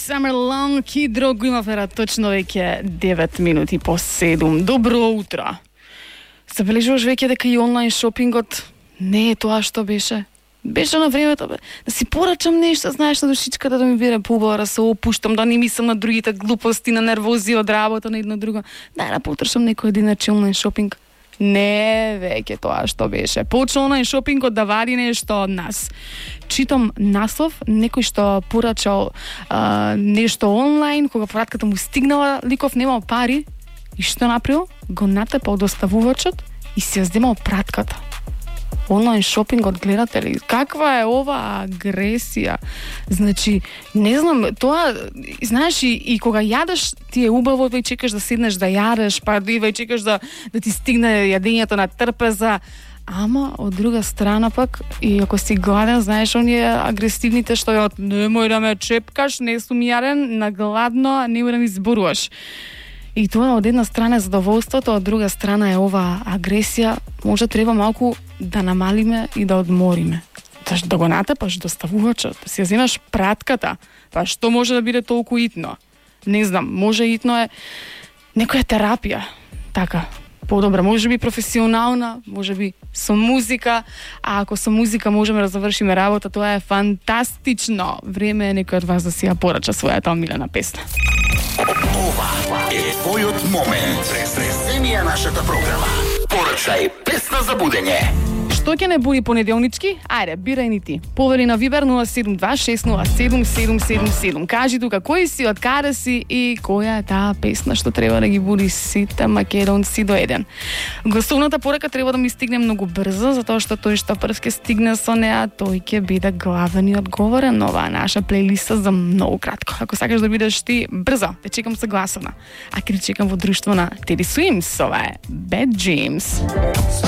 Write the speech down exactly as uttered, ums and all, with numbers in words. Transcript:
Summer Long и друго има фера точно веќе девет минути по седум. Добро утро. Забележуваш веќе дека и онлайн шопингот не е тоа што беше? Беше на времето, бе. Да си порачам нешто, знаеш, на душичката да ми биде побара, да се опуштам, да не мислам на другите глупости, на нервози од работа, на едно друго. Да, да потрошам некој единач онлайн шопинг. Не, веќе тоа што беше. Почна онлайн шопингот да вади нешто од нас. Читам наслов, некој што порачал а, нешто онлайн, кога пратката му стигнала, ликов немал пари, и што направил? Го натепал доставувачот и си ја земал пратката. Онлайн шопингот, гледате ли? Каква е ова агресија? Значи, не знам, тоа, знаеш, и, и кога јадеш, ти е убаво, веќе чекаш да седнеш да јадеш, па и веќе чекаш да, да ти стигне јадењето на трпеза. Ама, од друга страна пак, и ако си гладен, знаеш, оние агресивните што јат, немој да ме чепкаш, не сум јаден, на гладно, немој да ми зборуваш. И тоа од една страна е задоволството, од друга страна е ова агресија. Може треба малку да намалиме и да одмориме. Заш да го натепаш доставувачот, да си ја земаш пратката, па што може да биде толку итно? Не знам, може итно е некоја терапија, така, подобра, може би професионална, може би со музика, а ако со музика можеме да завршиме работа, тоа е фантастично. Време е некој од вас да си ја порача својата омилена песна. Ова е твојот момент. Преземи ја нашата програма. Порачај песна за будење. Што ќе не буди понеделнички? Ајде, бирај ни ти. Повери на Вибер нула седум два шест нула седум седум седум седум. Кажи тука кој си, од каде си и која е таа песна што треба да ги буди сите македонци до еден. Гласовната порака треба да ми стигне многу брзо, затоа што тој што прв ќе стигне со неа, тој ќе биде главен и одговорен на оваа наша плейлиста за многу кратко. Ако сакаш да бидеш ти, брзо, те чекам со гласовна. А ќе те чекам во друштво на Teddy Swims, ова е Bad Dreams.